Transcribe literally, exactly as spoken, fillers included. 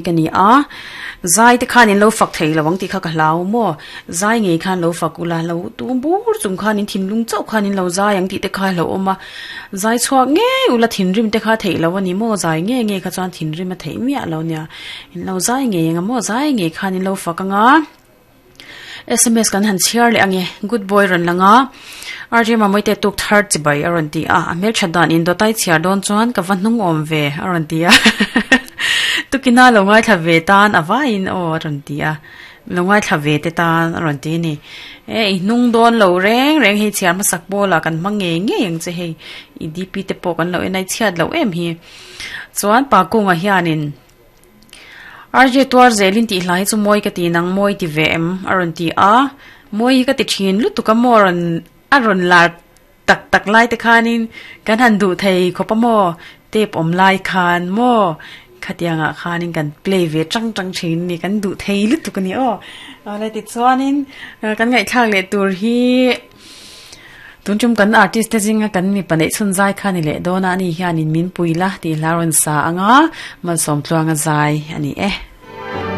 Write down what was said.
Ka ni a, zai te khanin lo fak thei lovang tih kha ka hlau maw? Zai ngei khan lo fak ula, lo tum bur chung khanin thinlung chauh khanin lo zai ang tih te kha a hlauhawm a. Zai chhuak ngei ula thinrim te kha theih lo a ni maw? Zai ngei ngei kha chuan thinrim a theih miah lo nia. In lo zai ngei ang a maw? Zai ngei khanin lo fak ang a. S M S kan han chhiar leh ang e. Good boy rawn lang a. R J Mamawite tuk thar chibai a rawn ti a. A hmelthat dan in dawtai chhiar dawn chuan ka va hnung awm ve a rawn ti a. Tukina lo ngaithla ve tan a vaiin aw a rawn ti a. Lo ngaithla ve te tan a rawn ti a ni. E i hnung dawn lo reng reng hei chhiar hmasak pawlah kan hmang ngei ngei ang che hei. I D P te pawh kan lo en a i chhiat loh em hi. Chuan pa kunga hianin R J tuar zelin tih hlai chu mawi ka ti nang mawi ti ve em a rawn ti a. Mawi hi ka ti thin lutuk a maw a rawn a rawn lar tak tak lai te khanin kan han duh thei khawp a maw tape awm lai khan maw khatiangah khanin kan play ve tang tang thin a ni kan duh thei lutuk a ni aw. Awle tichuanin kan ngaihthlak leh tur hi tun tum kan artist te zinga kan mipa neih chhun zai kha ni leh dawn a ani hianin min pui la tih hla rawn sa anga malsawm tluanga zai a ni e.